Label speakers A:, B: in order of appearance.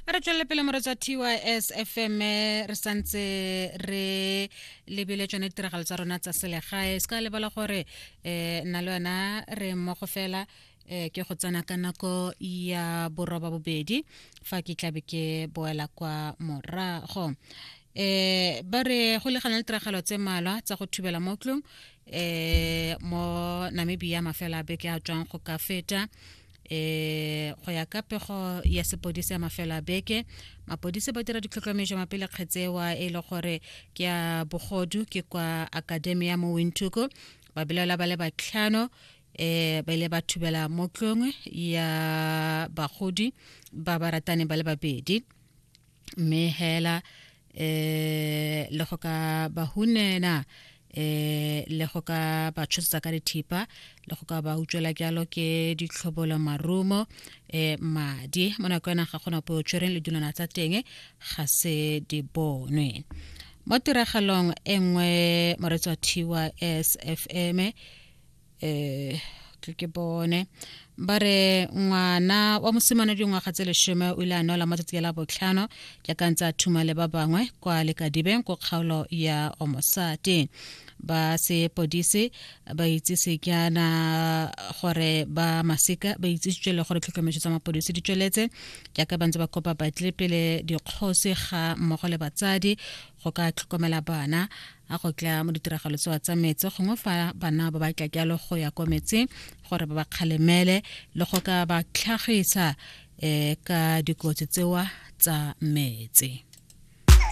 A: A re tswelele pele moretsa TYS FM, re santse re lebile tsone ditiragalo tsa rona tsa selegae. Se ka lebala gore nna le wena re mmogo fela ke go tsena ka nako ya boroba bobedi fa ke tlabe ke boela kwa morago. Ba re go legana le tiragalo tse malwa tsa go thubela mo tlong mo Namibia mafela a beke a tswang go ka feta. Go ya ka pego ya sepodisi ya mafelo a beke, mapodisi ba dira ditlhotlhomišo mapele kgetsewa e le gore ke ya bogodu ke kwa Academia mo Windhoek. Ba belaela ba le batlhano ba ile ba thubela mo tlong ya bagodi ba ba ratane ba le babedi, mme hela le go ka ba hunena le go ka ba tshosetsa ka dithipa le go ka ba utswela jalo ke ditlhobolo, marumo, madi. Mo nako ena ga gona po tshwereng le dilwana tsa teng ga se di bonwe. Mo tiragalong e nngwe, moretsi wa TYS FM, ke bone ba re ngwana wa mosimane dingwaga tse 10 o ile a nwela matsatsi a la botlhano jaaka ntse a thuma le ba bangwe kwa Lekadibeng ko kgaolo ya Omosati. Ba sepodisi ba itsise jaana gore ba masika ba itsisitswe le gore tlhotlhomiso tsa mapodisi di tsweletse jaaka ba ntse ba kopa batle pele dikgosi ga mmogo le batsadi go ka tlhokomela bana a go tla mo ditiragalo tsewa tsa metse, gongwe fa bana ba batla jalo go ya kwa metseng, gore ba ba kgalemele le go ka ba tlhagisa ka dikotsi tsewa tsa metse.